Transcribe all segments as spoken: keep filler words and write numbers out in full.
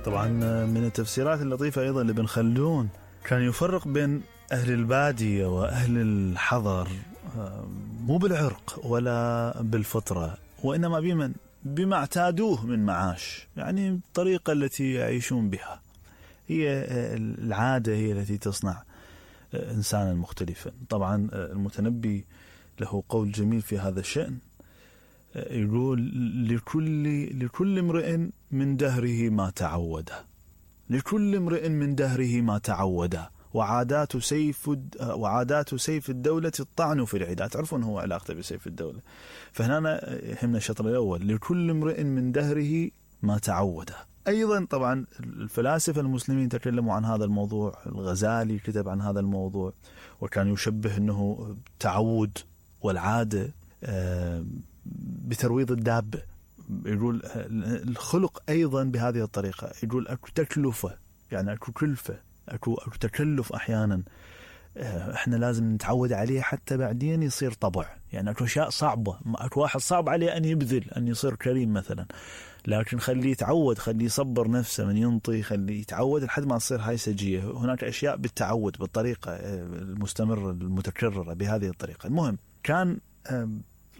طبعا من التفسيرات اللطيفة أيضا لابن خلدون كان يفرق بين أهل البادية وأهل الحضر، مو بالعرق ولا بالفطرة، وإنما بمن بما اعتادوه من معاش، يعني الطريقة التي يعيشون بها، هي العادة هي التي تصنع إنسانا مختلفا. طبعا المتنبي له قول جميل في هذا الشأن، يقول لكل لكل امرئ من دهره ما تعوده، لكل امرئ من دهره ما تعوده، وعادات سيف وعادات سيف الدولة الطعن في العدا. تعرفون هو علاقته بسيف الدولة، فهنا يهمنا الشطر الأول، لكل امرئ من دهره ما تعوده. أيضا طبعا الفلاسفة المسلمين تكلموا عن هذا الموضوع، الغزالي كتب عن هذا الموضوع وكان يشبه أنه تعود والعادة بترويض الدابة. يقول الخلق أيضا بهذه الطريقة، يقول أكو تكلفة، يعني أكو كلفة، أكو, أكو تكلف أحيانا إحنا لازم نتعود عليه حتى بعدين يصير طبع. يعني أكو أشياء صعبة، أكو واحد صعب عليه أن يبذل، أن يصير كريم مثلا، لكن خليه يتعود، خليه يصبر نفسه من ينطي، خليه يتعود لحد ما تصير هاي سجية. هناك أشياء بالتعود بالطريقة المستمرة المتكررة بهذه الطريقة. المهم كان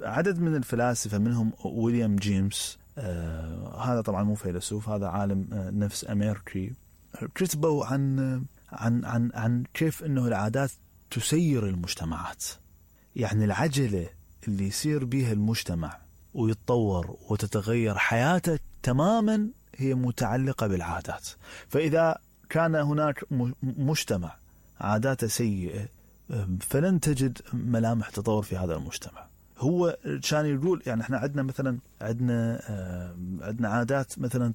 عدد من الفلاسفة منهم ويليام جيمس، آه هذا طبعا مو فيلسوف، هذا عالم آه نفس أمريكي، كتبوا عن عن عن عن كيف إنه العادات تسير المجتمعات. يعني العجلة اللي يصير بها المجتمع ويتطور وتتغير حياته تماما هي متعلقة بالعادات. فإذا كان هناك مجتمع عاداته سيئة فلن تجد ملامح تطور في هذا المجتمع. هو كان يقول يعني احنا عندنا مثلا عندنا آه عندنا عادات مثلا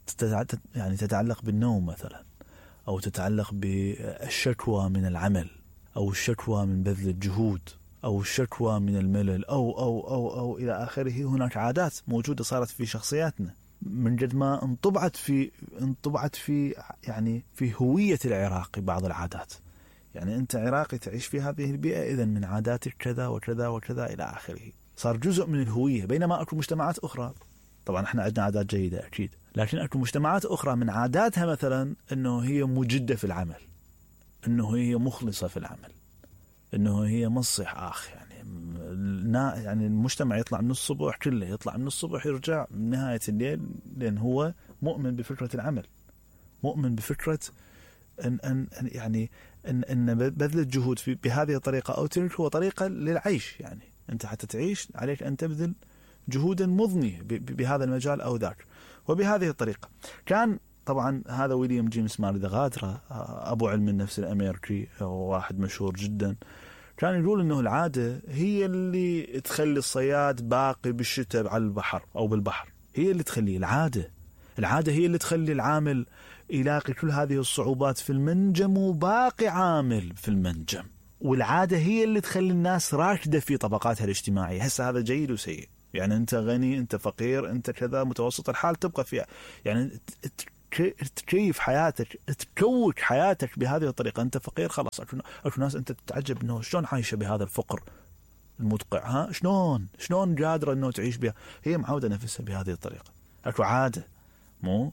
يعني تتعلق بالنوم مثلا، او تتعلق بالشكوى من العمل، او الشكوى من بذل الجهود، او الشكوى من الملل، او او او او الى اخره. هناك عادات موجوده صارت في شخصياتنا من قد ما انطبعت في انطبعت في يعني في هويه العراقي بعض العادات. يعني انت عراقي تعيش في هذه البيئه، اذا من عاداتك كذا وكذا وكذا الى اخره، صار جزء من الهوية. بينما أكو مجتمعات أخرى، طبعا احنا عندنا عادات جيدة أكيد، لكن أكو مجتمعات أخرى من عاداتها مثلا أنه هي مجدة في العمل، أنه هي مخلصة في العمل، أنه هي مصح آخ. يعني يعني المجتمع يطلع من الصبح كله، يطلع من الصبح يرجع من نهاية الليل، لأن هو مؤمن بفكرة العمل، مؤمن بفكرة أن أن يعني أن أن بذل الجهود في بهذه الطريقة أو تلك هو طريقة للعيش. يعني أنت حتى تعيش عليك أن تبذل جهودا مضنية بهذا المجال أو ذاك. وبهذه الطريقة كان طبعا هذا ويليام جيمس ماري غادرة، أبو علم النفس الأمريكي وواحد مشهور جدا، كان يقول أنه العادة هي اللي تخلي الصياد باقي بالشتاء على البحر أو بالبحر، هي اللي تخليه العادة. العادة هي اللي تخلي العامل يلاقي كل هذه الصعوبات في المنجم وباقي عامل في المنجم. والعادة هي اللي تخلي الناس راكدة في طبقاتها الاجتماعية. هسه هذا جيد وسيء، يعني أنت غني، أنت فقير، أنت كذا متوسط الحال، تبقى فيها يعني تكيف حياتك، تكوك حياتك بهذه الطريقة. أنت فقير خلاص، أكو ناس أنت تتعجب إنه شلون عايشة بهذا الفقر المدقع، ها شلون شلون قادرة إنه تعيش بها، هي معودة نفسها بهذه الطريقة. أكو عادة مو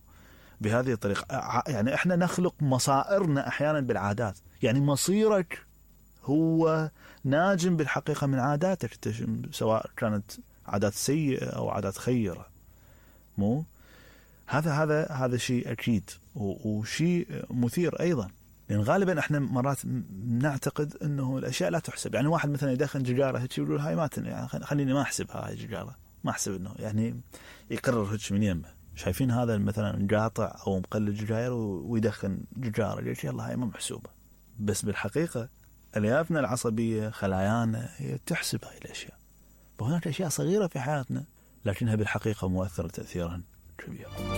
بهذه الطريقة. يعني إحنا نخلق مصائرنا أحيانا بالعادات. يعني مصيرك هو ناجم بالحقيقة من عاداتك، سواء كانت عادات سيئة أو عادات خيرة. مو هذا هذا هذا شيء أكيد وشيء مثير أيضا، لأن غالبا إحنا مرات نعتقد إنه الأشياء لا تحسب. يعني واحد مثلا يدخن جيجارة هيك يقول هاي ما تن يعني خليني ما أحسبها هاي جيجارة، ما أحسب إنه يعني يقرر هيك من يمه. شايفين هذا مثلا قاطع أو مقلد جيجار ويدخن جيجارة، ليش يلا هاي ما محسوبة. بس بالحقيقة أليافنا العصبية خلايانا هي تحسب هاي الأشياء. وهناك أشياء صغيرة في حياتنا لكنها بالحقيقة مؤثرة تأثيرا كبيرا.